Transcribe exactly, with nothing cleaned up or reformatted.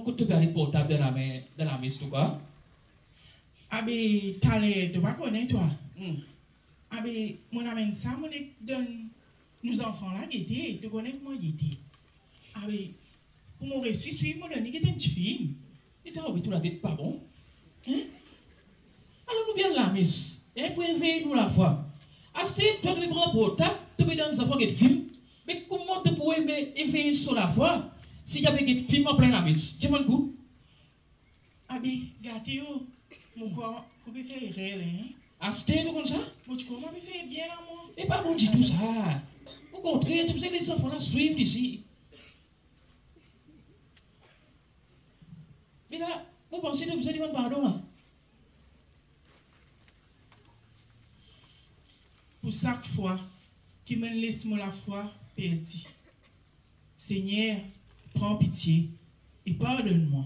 Kot to pe al portab dan lame, dan lames, to krwar? Abe, taler, to pa kone, twa. Hmm. Abe, mo amenn sa, mo nek donn nou zanfan la gete, to kone kouma gete. Abe, pou mo resi swiv, mo donn li get enn tifilm. E twa, wi, to latet pa bon. Hein? Alor nou pe al lames, hein, pou evey nou lafwa. Aster, twa, to pe pran portab, to pe donn zanfan get film. Me kouma to pou eve-, evey so lafwa, si zame get film an plin lames? Dir mwa enn kou. Abe, gate yo, mo krwar mo pe fer erer la, hein? Aster to konn sa? Mo ti krwar mo pe fer bien la, mwa. E pa bon ditou sa. Okontrer, to bizin les zanfan la swiv li isi. Me la, mo panse to bizin demann pardon la. Pou sak fwa ki mo'nn les mo lafwa perdi, Segner, pran pitie e pardonn mwa.